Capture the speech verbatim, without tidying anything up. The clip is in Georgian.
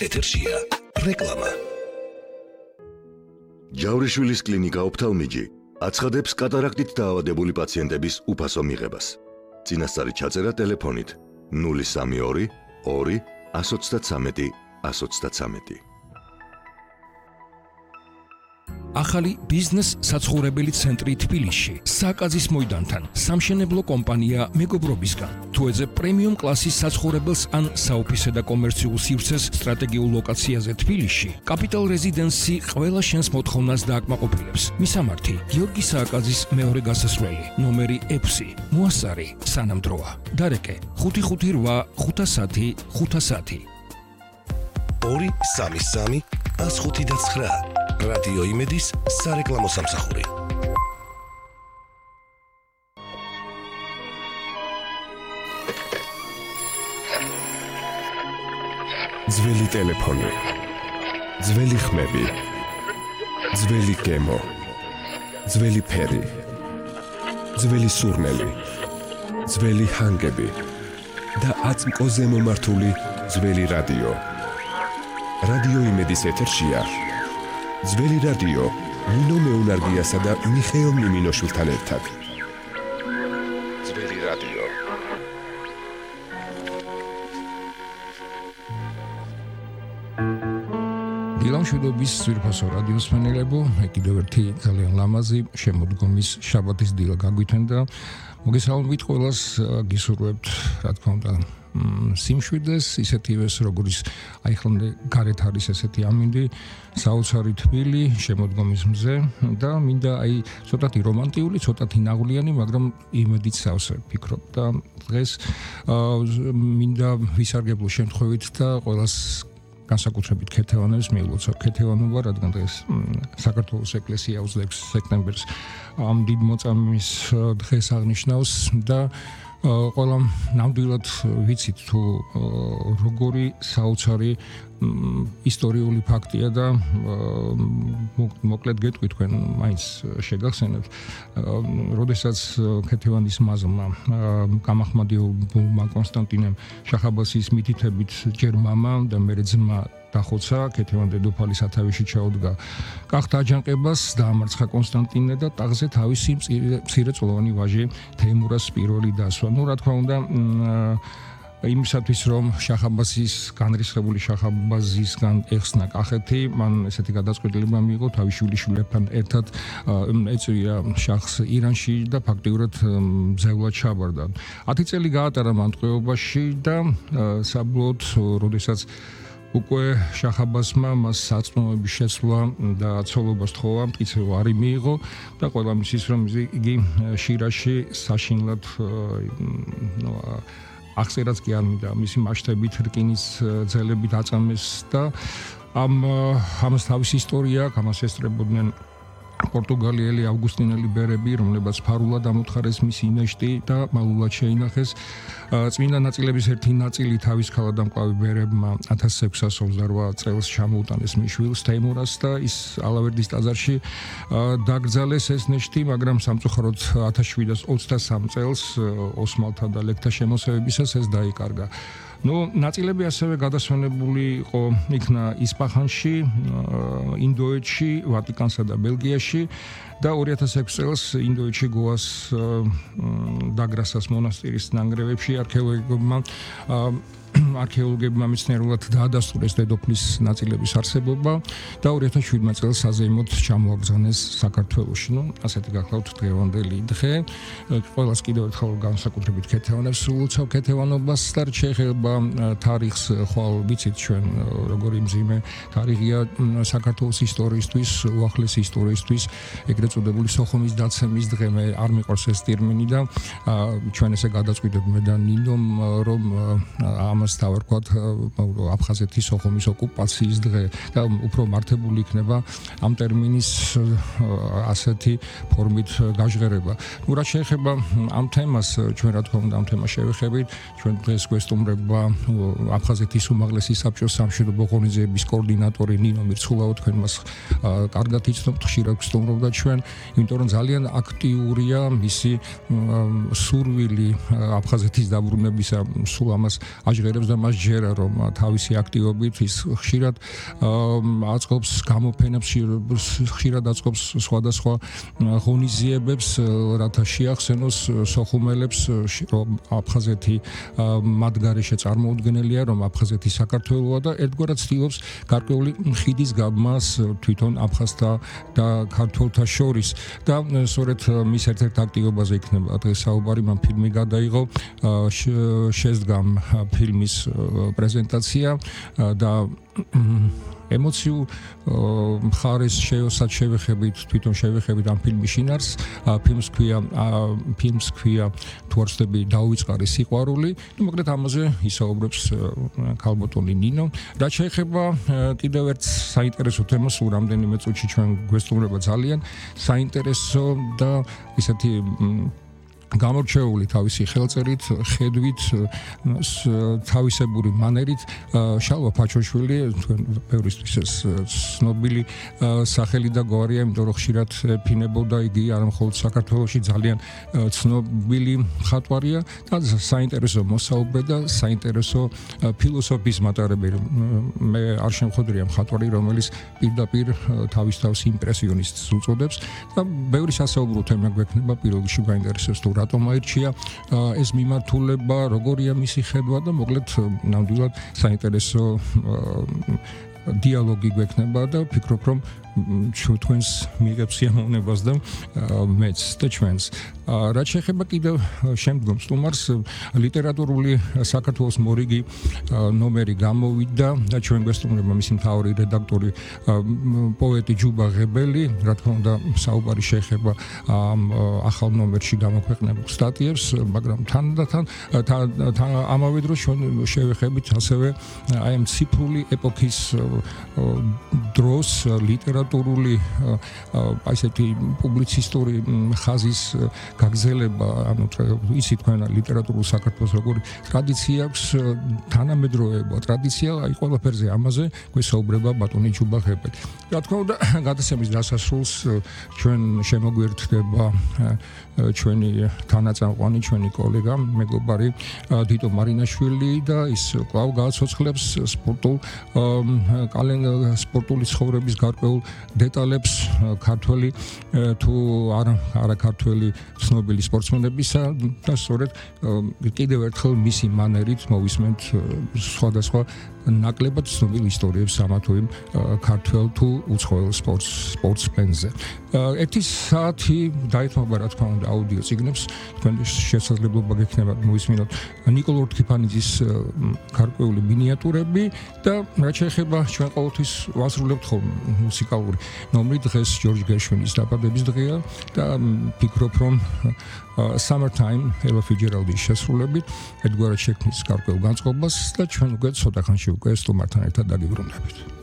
ეთერშია რეკლამა. ჯავრიშვილის კლინიკა ოფთალმიჯი აცხადებს კატარაქტით დაავადებული პაციენტების უფასო მიღებას. წინასწარი ჩაწერა ტელეფონით ნული სამი ორი ორი ას ოცდათსამეტი ას ოცდათსამეტი. ახალი ბიზნეს საცხოვრებელი ცენტრი თბილისში, საკაზის მოედანთან, სამშენებლო კომპანია მეგობრობისგან. თუ ეძებ პრემიუმ კლასის საცხოვრებელს ან საოფისე და კომერციულ სივრცეს სტრატეგიულ ლოკაციაზე თბილისში, კაპიტალ რეზიდენსი ყველა შენს მოთხოვნას დააკმაყოფილებს. მისამართი: გიორგი სააკაძის მეორე გასასვლელი, ნომერი ექვსი, მოასარი, სანამდროა. დარეკე: ხუთი ხუთი რვა ხუთასათი ხუთასათი. ორი სამი სამი ას ხუთი და ცხრა. რადიო იმედის სარეკლამო სამსახური. ძველი ტელეფონი, ძველი ხმები, ძველი გემო, ძველი ფერი, ძველი სურნელი, ძველი ჰანგები და აწმყოზე მომართული ძველი რადიო. რადიო იმედის ეთერშია ძველი რადიო ნინო მეუნარგიასა და მიხეილ მიმინოშვილთან ერთად. ძველი რადიო. დილამშვიდობის ძვირფასო რადიოს ფანელებო, კიდევ ერთი ძალიან ლამაზი შემოდგომის შაბათის დილა გაგვითენ და მოგესალმებით ყველას, გისურვებთ, რა თქმა უნდა, სიმშვიდეს, ისეთივეს როგორიც აი ხლამდე გარეთ არის ესეთი ამინდი, საოცარი თბილი შემოდგომის მზე და მინდა აი ცოტათი რომანტიული, ცოტათი ნაღვლიანი, მაგრამ იმედით სავსე ვფიქრობ და დღეს მინდა ვისარგებლო შემთხვევით და ყველას განსაკუთრებით ქეთევანებს მიულოცავ ქეთევანობა, რადგან დღეს საქართველოს ეკლესია ოცდაექვსი სექტემბერს ამ დიდ მოწამის დღეს აღნიშნავს და ყველა ნამდვილად ვიცით თუ როგორი საოცარი ისტორიული ფაქტია და მოკლედ გეტყვი თქვენ მაინც შეგახსენებთ, როდესაც ქეთევანის მაზლმა გამახმადიებულმა კონსტანტინემ შახაბასის მითითებით ჯერ მამა და მერე ძმა დახოცა, ქეთევან დედოფალი სათავეში ჩაუდგა კახთა აჯანყებას, დაამარცხა კონსტანტინე და ტახტზე თავისი მცირეწლოვანი ვაჟი თეიმურას პირველი დასვა. ნუ რა თქმა უნდა, იმისათვის რომ შახაბასის განრისხებული შახაბაზისგან ეხსნა კახეთი, მან ესეთი გადაწყვეტილება მიიღო თავის შვილიშვილებთან ერთად ეწვია შახს ირანში და ფაქტიურად მძევლად ჩაბარდა. ათი წელი გაატარა მან ტყვეობაში და საბოლოოდ, როდესაც უკვე შახაბასმა მას საწმოების შეცვლა და ცოლობას თხოვა, მტკიცება არ მიიღო და ყველა მისის რომ იგი შირაში საშინლად ახსერაც კი არ მინდა მისი მასშტაბით რკინის ძელებით აწამეს და ამ ამას თავის ისტორია აქვს, ამას ესწრებოდნენ პორტუგალიელი ავგუსტინელი ბერები, რომლებაც ფარულად ამოთხარეს მისი ნეშტი და მალულად შეინახეს. წმინდა ნაწილების ერთი ნაწილი თავის ქალადამკლავი ბერებმა ათას ექვსას ოცდარვა წელს ჩამოუტანეს მის შვილს თეიმურას და ის ალავერდის ტაძარში დაკრძალეს ეს ნეშტი, მაგრამ სამწუხაროდ ათას შვიდას ოცდასამ წელს ოსმალთა და ლეკთა შემოსევებისას ეს დაიკარგა. ნუ ნაწილები ასევე გადასვენებული იყო იქნა ისპაჰანში, ინდოეთში, ვატიკანსა და ბელგიაში და ორი ათას ექვსი წელს ინდოეთში გოას დაგრასას მონასტირის ნანგრევებში არქეოლოგებმა არქეოლოგებმა მეცნიერულად დაადასტურეს დედოფლის ნაწილების არსებობა და ორი ათას შვიდმა წელს საზეიმოდ ჩამოაგზავნეს საქართველოში. ნუ ასეთი გახლავთ დღევანდელი დღე. ყველას კიდევ ერთხელ განსაკუთრებით ქეთევანებს ულოცავ ქეთევანობას და შეიძლება თარიღს ხვალ ვიცით ჩვენ როგორი მძიმე თარიღია საქართველოს ისტორიისთვის, უახლესი ისტორიისთვის, ეგრეთ წოდებული სოხუმის დაცემის დღე. მე არ მიყვარს ეს ტერმინი და ჩვენ ესე გადაწყვიტებთ მე და ნინომ რომ ამ დავარქვათ აფხაზეთის სოხუმის ოკუპაციის დღე და უფრო მართებული იქნება ამ ტერმინის ასეთი ფორმით გაჟღერება. ნუ რა შეეხება ამ თემას, ჩვენ რა თქმა უნდა ამ თემას შევეხებით, ჩვენ დღეს გვესტუმრება აფხაზეთის უმაღლესი საბჭოს სამშვიდობო ღონისძიების კოორდინატორი ნინო მირცხულაო, თქვენ მას კარგად იცნობთ, ხშირად გვსტუმრობდა ჩვენ, იმიტომ რომ ძალიან აქტიურია მისი სურვილი აფხაზეთის დაბრუნებისა, სულ ამას აჟღერებს ჟღერებს და მას ჯერა რომ თავისი აქტივობით ის ხშირად აწყობს გამოფენებს, ხშირად აწყობს სხვადასხვა ღონისძიებებს, რათა შეახსენოს სოხუმელებს რომ აფხაზეთი მათ გარეშე წარმოუდგენელია, რომ აფხაზეთი საქართველოა და ერთგვარად ცდილობს გარკვეული ხიდის გაბმას თვითონ აფხაზთა და ქართველთა შორის და სწორედ მის ერთ-ერთ აქტივობაზე იქნება დღეს საუბარი. მან ფილმი გადაიღო, შედგა ფილმის პრეზენტაცია და ემოციურ მხარეს შეოსად შევეხებით, თვითონ შევეხებით ამ ფილმის შინაარსს. ფილმს ქვია ფილმს ქვია თუ არ ვცდები დაუვიწყარი სიყვარული. ნუ მოკლედ ამაზე ისაუბრებს ქალბატონი ნინო. რაც შეეხება კიდევ ერთ საინტერესო თემას, სულ რამდენიმე წუთში ჩვენ გვესტუმრება ძალიან საინტერესო და ისეთი გამორჩეული თავისი ხელწერით, ხედვით, თავისებური მანერით შალვა ფაჩოშვილი, თქვენ ბევრისთვის ეს ცნობილი სახელი და გვარია, იმიტომ რომ ხშირად ეფინებოდა იგი არა მხოლოდ საქართველოში ძალიან ცნობილი მხატვარია და საინტერესო მოსაუბრე და საინტერესო ფილოსოფიის მატარებელი. მე არ შემხვედრია მხატვარი, რომელიც პირდაპირ თავის თავს იმპრესიონისტს უწოდებს და ბევრი სასაუბრო თემა გვექნება პირველ რიგში გაინტერესებს თუ რატომ აირჩია ეს მიმართულება, როგორია მისი ხედვა და მოკლედ ნამდვილად საინტერესო დიალოგი გვექნება და ვფიქრობ რომ ჩვენს მიიღებს სიამოვნებას და მეც და ჩვენს. რაც შეეხება კიდევ შემდგომ სტუმარს, ლიტერატურული საქართველოს მორიგი ნომერი გამოვიდა და ჩვენ გვესტუმრება მისი მთავარი რედაქტორი პოეტი ჯუბა ღებელი. რა თქმა უნდა, საუბარი შეეხება ამ ახალ ნომერში გამოქვეყნებულ სტატიებს, მაგრამ თანდათან ამავე დროს ჩვენ შევეხებით ასევე აი ამ ციფრული ეპოქის დროს ლიტერატურული ასეთი პუბლიცისტური ხაზის გაგზელება, ანუ ისი თქვენ ლიტერატურულ საქართველოს როგორი ტრადიცია აქვს, თანამედროვეობა ტრადიცია, აი ყველაფერზე ამაზე გვესაუბრება ბატონი ჯუბა ღებელი. რა თქმა უნდა, გადაცემის დასასრულს ჩვენ შემოგვერთდება ჩვენი თანაწამყვანი, ჩვენი კოლეგა, მეგობარი დიტო მარინაშვილი და ის კვლავ გააცოცხლებს სპორტულ სპორტული ცხოვრების გარკვეულ დეტალებს ქართველი თუ არა არა ქართველი ცნობილი სპორტსმენებისა და სწორედ კიდევ ერთხელ მისი მანერით მოვისმენთ სხვადასხვა ნაკლებად ცნობილ ისტორიებს ამა თუ იმ ქართველ თუ უცხოელ სპორტს სპორტსმენზე. ერთი საათი დაეთმობა რა თქმა უნდა აუდიო წიგნებს, თქვენ შესაძლებლობა გექნება მოვისმინოთ ნიკოლ ორთქიფანიძის გარკვეული მინიატურები და რაც შეეხება ჩვენ ყოველთვის ვასრულებთ ხოლმე მუსიკალური ნომრი, დღეს ჯორჯ გერშვინის დაბადების დღეა და ვფიქრობ რომ Summertime ელა ფიჯერალდის შესრულებით ერთგვარად შექმნის გარკვეულ განწყობას და ჩვენ უკვე ცოტა ხანში უკვე სტუმართან ერთად დაგიბრუნდებით.